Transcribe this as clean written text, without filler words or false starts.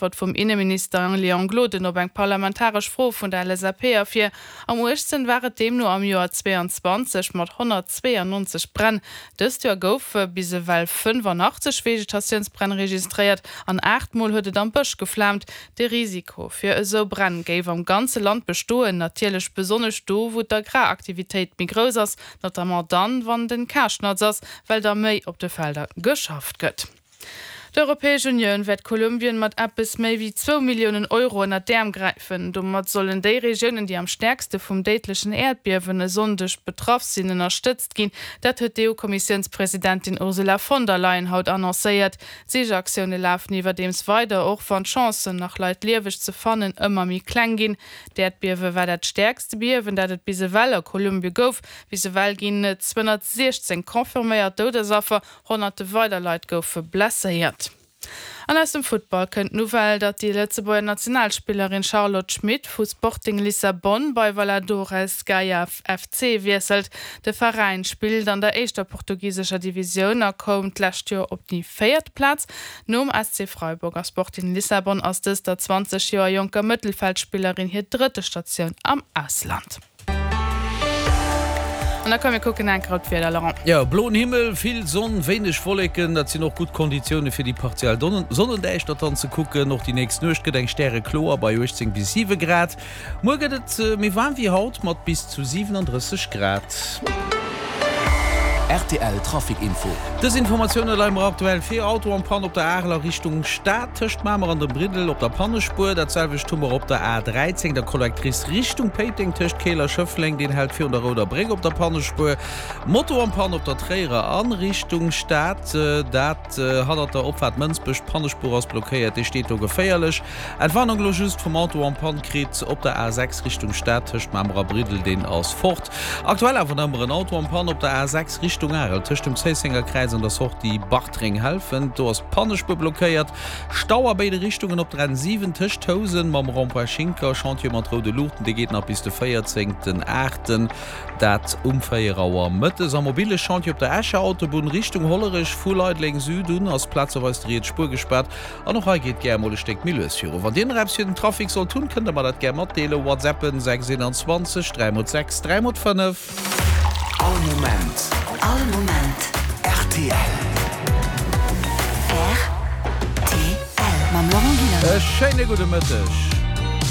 Äntwert vum Inneminister Léon Gloden op eng parlamentaresch Fro vun der LSAP ervir. Am uergsten war et deemno am Joer 22 mat 192 Bränn. Dëst Joer goufe bis ewell 85 Vegetatiounsbränn registréiert an 8 Mol huet et am Bësch geflaamt. De Risiko fir esou Bränn géif am ganze Land bestoen, natierlech besonnesch do, wou d'Agraraktivitéit méi grouss ass, notamment dann, wann den Karschnatz ass, well da méi op de Felder geschafft gëtt. D'Europäesch Unioun wäert Kolumbien mat eppes méi wéi zwou Milliounen Euro ënnert d'Äerm gräifen. Domat sollen déi Regiounen, déi am stäerkste vum déidlechen Äerdbiewen e Sonndeg betraff sinn, ënnerstëtzt ginn. Dat huet d'EU-Kommissiounspresidentin Ursula von der Leyen haut annoncéiert. D'Sichaktioune lafen iwwerdeems weider, och wann d'Chancen, nach Leit lieweg ze fannen, ëmmer méi kleng ginn. D'Äerdbiewe war dat stäerkste Biewen, dat et bis ewell a Kolumbie gouf. Bis ewell ginn et 216 confirméiert Doudesaffer, honnerte weider Leit goufe blesséiert. An aus dem Futtball kënnt d'Nouvelle, datt déi Lëtzebuerger Nationalspillerin Charlotte Schmit vu Sporting Lissabon bei Valladores Gaia FC wiesselt. De Veräin spillt an der éischter portugisescher Divisioun a koum d'lescht Joer op déi véiert Plaz. Nom SC Freiburg a Sporting Lissabon ass dës der 20 Joer jonker Mëttelfeldspillerin hir drëtte Statioun am Ausland. An da komm mir kucken eng Kéier op d'Wieder, Laurent. Jo, bloen Himmel, vill Sonn, wéineg Wolleken, dat sinn och gutt Konditioune fir déi partiell Sonnendäischtert dann ze kucken. Och déi nächst Nuecht gëtt eng stärekloer bei 18 bis 7 Grad. Muer gëtt et méi waarm wéi haut mat bis zu 37 Grad. Rtl Trafic Info. Dës Informatioune leie mer aktuell vir, Auto en panne op der Arel a Richtung Stad tëscht Mamer an dem Briddel op der Pannespuer. Dat selwecht hu mer op der A 13, der Collectrice Richtung Péiteng tëscht Keel a Schëffleng, deen hält virun der Rouder Bréck op der Pannespuer. Moto en panne op der Tréierer a Richtung Stad, dat hannert der Opfaart Mënsbech, d'Pannespuer ass blockéiert, dee steet do geféierlech. Entwarnung elo just vum Auto en panne kritt op der A6 Richtung Stad tëscht Mamer a Briddel, deen ass fort. Aktuell awer nach ëmmer en Auto en panne op der A6 Richtung Arel tëscht dem Zéissenger Kräiz an der Sortie Bartreng-Helfent, do ass d'Pannespuer blockéiert. Stau a béide Richtungen op der N7 tëscht Housen mam Rond-point Schinker, Chantier mat roude Luuchten, dee geet nach bis de 14 8, dat um 4 Auer mëttes. Am mobile Chantier op der Escher Autobunn Richtung Hollerech vu Leideleng Süd un ass plazeweis déi riets Spuer gespaart. An och hei geet gär emol e Stéck méi lues viru. Wann dir nach eppes fir den Trafic sollt hunn, kënnt der mer dat gär matdeelen. Whatsappen 6 21 3 mol 6 3 mol 5. All Moment. All Moment. Rtl. Rtl. Mam Laurent Gillander. E schéine gudde Mëtteg.